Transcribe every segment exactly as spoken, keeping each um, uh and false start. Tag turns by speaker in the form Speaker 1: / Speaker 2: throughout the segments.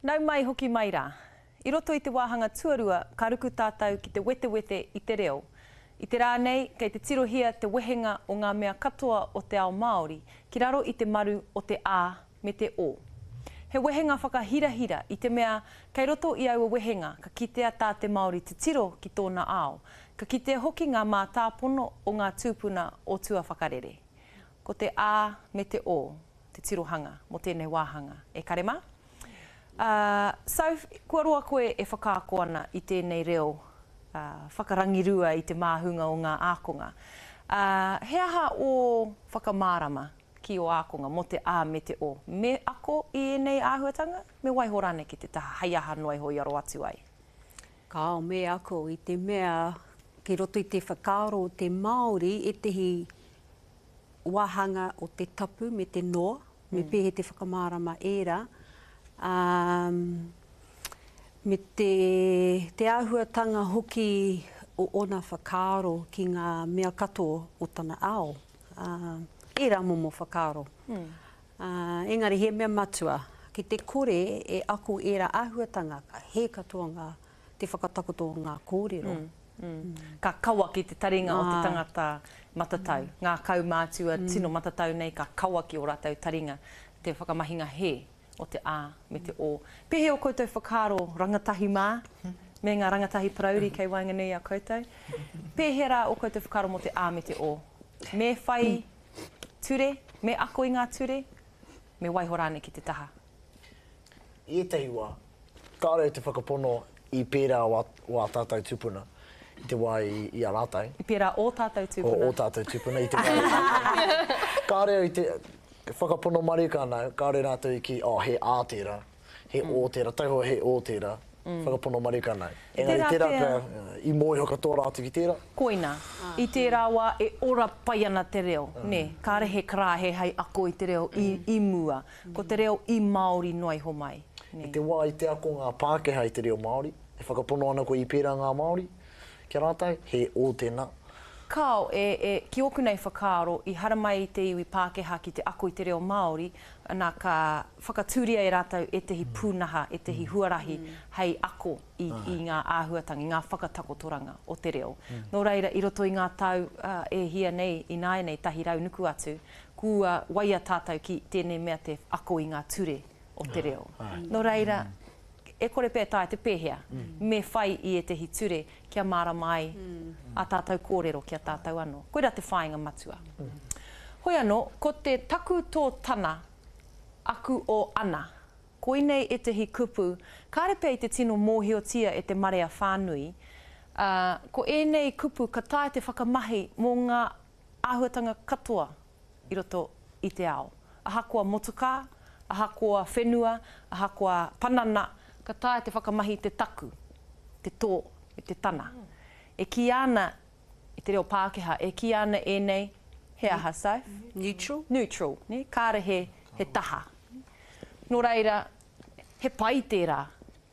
Speaker 1: Nau mai hoki mai rā. I roto i te wāhanga tuarua ka ruku tātou ki te wetewete i te reo. I te rā nei, kei te tirohia te wehenga o ngā mea katoa o te ao Māori ki raro i te maru o te A me te O. He wehenga whakahirahira i te mea kei roto i aua wehenga ka kitea tā te Māori titiro ki tōna ao, ka kitea hoki ngā mātāpono o ngā tūpuna o tua whakarere. Ko te A me te O te tirohanga mō tēnei wāhanga. E kare mā? Uh, Soph, kua roa koe e whakaako ana i tēnei reo uh, whakarangirua i te māhunga o ngā ākonga. Uh, he aha o whakamārama ki o ākonga mō te A me te O? Me ako i ēnei āhuatanga? Me waiho rānei ki te taha hei aha noa iho i aro atu ai?
Speaker 2: Kāo me ako i te mea ki roto i te whakaaro o te Māori ētehi wāhanga o te tapu me te noa, me mm. pēhe te whakamārama ērā. Um, me te, te āhuatanga hoki o ona whakaaro ki ngā mea katoa o tana ao. Uh, ērā momo whakaaro. Mm. Uh, engari he mea matua, ki te kore e ako ērā āhuatanga, ka he katoa ngā, te whakatakoto o ngā kōrero.
Speaker 1: Mm. Mm. Ka kawa ki te taringa ah. o te tangata matatau. Mm. Ngā kaumātua mm. tino matatau nei ka kawa ki o rātou taringa te whakamahinga he o te A me te O. Pēhea o koutou whakaaro rangatahi mā, me ngā rangatahi parauri kei waenganui i a koutou. Pēhea rā o koutou whakaaro mō te A me te O? Me whai ture, me ako i ngā ture, me waiho rānei ki te taha?
Speaker 3: I ētahi wā, kāore te whakapono i pērā wā, wā tātou tūpuna i te wā i, i a rātou.
Speaker 1: I pērā o tātou tūpuna.
Speaker 3: O, o tātou tūpuna i te wā i a rātou. Kāore i te whakapono marika ana, kāore rātou i ki, oh, he A tērā, he mm. O tērā, taihoa he O tērā, mm. whakapono marika ana. Engari tērā pea, i mōhio katoa rātou ki tērā.
Speaker 1: Koina, i tērā wā e ora pai ana te reo, mm. ne? Kāre he karāhe hei ako i te reo i, i mua. Ko te reo i Māori noa iho mai.
Speaker 3: Ne? I te wā i te ako ngā Pākehā i te reo Māori, e whakapono ana koe i pērā ngā Māori, kia rātou, he O tēnā.
Speaker 1: Kāo, e, e, ki ōku nei whakaaro, i haramai te iwi Pākehā ki te ako i te reo Māori, nā ka whakatūria e rātou ētehi pūnaha, ētehi huarahi mm. hei ako i, i ngā āhuatanga, i ngā whakatakotoranga o te reo. Mm. Nō reira, i roto i ngā tau uh, e hia nei, ināianei, tahi rau nuku atu, kua waia tātou ki tēnei mea te ako i ngā ture o te reo. Nō reira, e kore pea taea te pēhea, mm. me whai i ētehi ture kia mārama ai mm. a tātou kōrero ki a tātou anō. Koira te whāinga matua. Mm. Hoi anō, ko te taku tō tana, aku o ana. Koinei ētehi kupu, kāre pea i te tino mōhiotia e te marea whānui. Uh, ko ēnei kupu ka taea te whakamahi mō ngā āhuatanga katoa i roto i te ao. Ahakoa motukā, ahakoa whenua, ahakoa panana, ka taea te whakamahi te taku, te tō, me te tana. E kī ana, i te reo Pākehā, e kī ana ēnei, he aha, Soph?
Speaker 2: Neutral.
Speaker 1: Neutral, ne? Kāre he, he taha. Nō reira, he pai tērā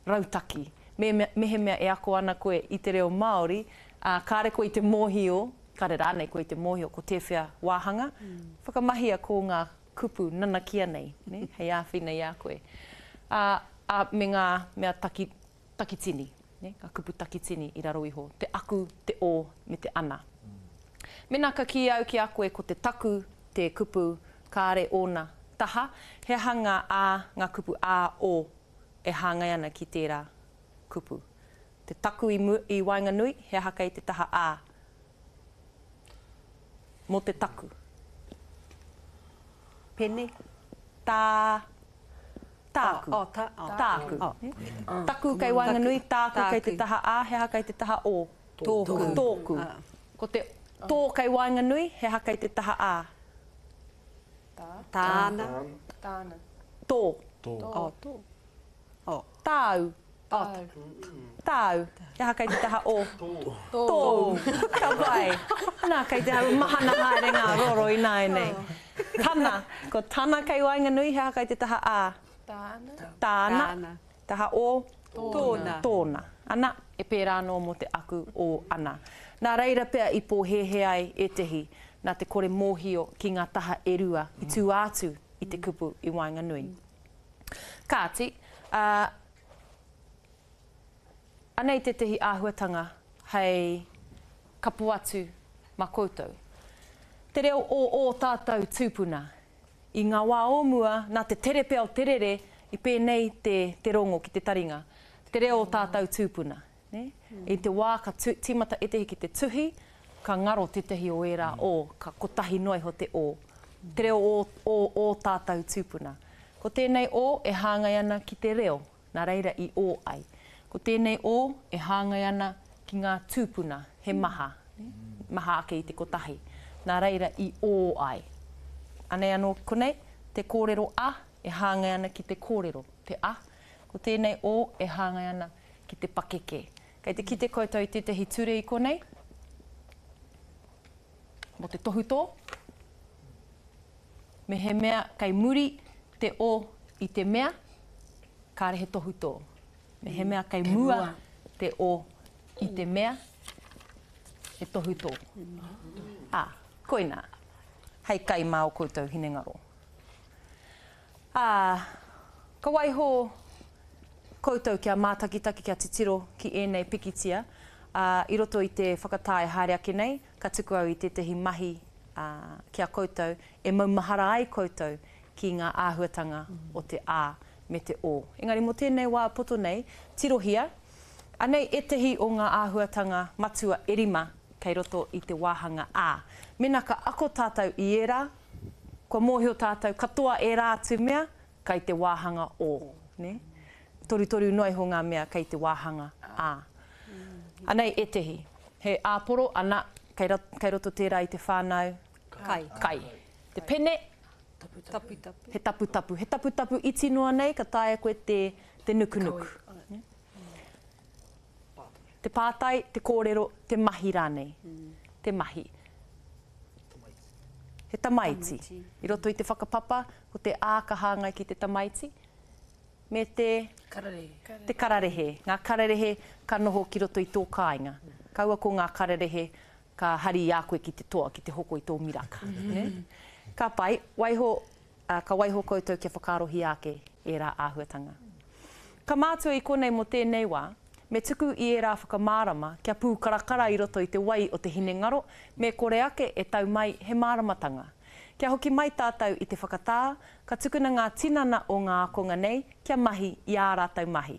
Speaker 1: rautaki. Me, me, mehemea e ako ana koe i te reo Māori, uh, kāre koe i te mōhio, kāre rānei koe i te mōhio ko tēwhea wāhanga, mm. whakamahia ko ngā kupu nanakia nei, ne? Hei āwhina i a koe. Uh, uh, me ngā mea taki, takitini, ne? Ngā kupu takitini i raro iho, te aku, te o, me te ana. Mena ka kī au ki a koe ko te taku, te kupu, kāre ōna taha, he aha ngā a, ngā kupu a, o, e hāngai ana ki tērā kupu. Te taku i, mu, i waenganui, he aha kei te taha a, mō te taku.
Speaker 2: Pene.
Speaker 1: Tā, tāku.
Speaker 2: Oh, oh, ta, oh.
Speaker 1: Tāku.
Speaker 2: Oh.
Speaker 1: Oh. Taku kei waenganui, tāku, tāku kei te taha a, he aha kei te taha o.
Speaker 2: Tōku.
Speaker 1: Tōku.
Speaker 2: Ah.
Speaker 1: Ko te tō kei waenganui, he aha kei te taha a.
Speaker 4: Tā.
Speaker 2: Tāna.
Speaker 4: Tāna.
Speaker 1: Tō.
Speaker 3: Tō.
Speaker 2: Oh, tō. Oh.
Speaker 1: Tāu.
Speaker 4: Tāu.
Speaker 1: Tāu. He aha kei te taha o.
Speaker 4: Tō.
Speaker 1: Tō. Ka pai. Nā, kei te hau mahana haere ngā roro ināianei. Tana. Ko tana kei waenganui, he aha kei te taha a.
Speaker 4: Tāna.
Speaker 1: Tāna.
Speaker 2: Tāna.
Speaker 1: Taha o.
Speaker 2: Tōna.
Speaker 1: Tōna. Ana, e pērā anō mō te aku o ana. Nā reira pea i pōhēhē ai ētehi, nā te kore mōhio ki ngā taha e rua i tū atu i te kupu i waenganui. Kāti, Uh, anei tētehi āhuatanga hei kapo atu mā koutou. Te reo o ō tātou tūpuna. I ngā wā o mua, nā te tere pea o te rere, i pēnei te, te rongo ki te taringa. Te reo o tātou tūpuna. Ne? I te wā ka tu, tīmata ētehi ki te tuhi, ka ngaro tētehi o ērā o, ka kotahi noa iho te o. Te reo o, o, o tātou tūpuna. Ko tēnei o e hāngai ana ki te reo, nā reira i o ai. Ko tēnei o e hāngai ana ki ngā tūpuna, he maha, ne? Maha ake i te kotahi. Nā reira i o ai. Anei anō konei, te kōrero a e hāngai ana ki te kōrero, te a. Ko tēnei o e hāngai ana ki te pakeke. Kei te kite koutou i tētehi ture i konei, mō te tohutō. Me he mea kei muri te o i te mea, kāre he tohutō. Me he mea kei mua te o i te mea, he tohutō. Ā, koinā, hei kai mā o koutou hinengaro. Ā, ka waiho koutou kia mātakitaki, kia titiro ki ēnei pikitia. Ā, i roto i te whakatā e haere ake nei, ka tuku au i tētehi mahi ā, ki a koutou, e maumahara ai koutou ki ngā āhuatanga o te A me te O. Engari mō tēnei wā poto nei, tirohia, anei ētehi o ngā āhuatanga matua e rima kei roto i te wāhanga A. Mēnā ka ako tātou i ērā, kua mōhio tātou katoa ērā atu mea kei te wāhanga O. Ne? Torutoru noa iho ngā mea kei te wāhanga A. Anei ētehi. He āporo, ana, kei, kei roto tērā i te whānau.
Speaker 2: Kai.
Speaker 1: Kai. Te pene.
Speaker 2: Taputapu.
Speaker 1: He taputapu. He taputapu iti noa nei, ka taea koe te, te nukunuku. Te pātai, te kōrero, te mahi rānei. Te mahi. He tamaiti.
Speaker 2: Tamaiti.
Speaker 1: I roto i te whakapapa, ko te A ka hāngai ki te tamaiti, me te
Speaker 4: Kararehe.
Speaker 1: Te kararehe. Ngā kararehe ka noho ki roto i tō kāinga. Kaua ko ngā kararehe ka hari i a koe ki te toa, ki te hoko i tō miraka. Ne? Ka pai, waiho, uh, ka waiho koutou kia whakaarohia ake ērā āhuatanga. Ka mātua i konei mō tēnei wā, me tuku i ērā whakamārama kia pūkarakara i roto i te wai o te hinengaro, me kore ake e tau mai he māramatanga. Kia hoki mai tātou i te whakatā, ka tukuna ngā tinana o ngā ākonga nei kia mahi i ā rātou mahi.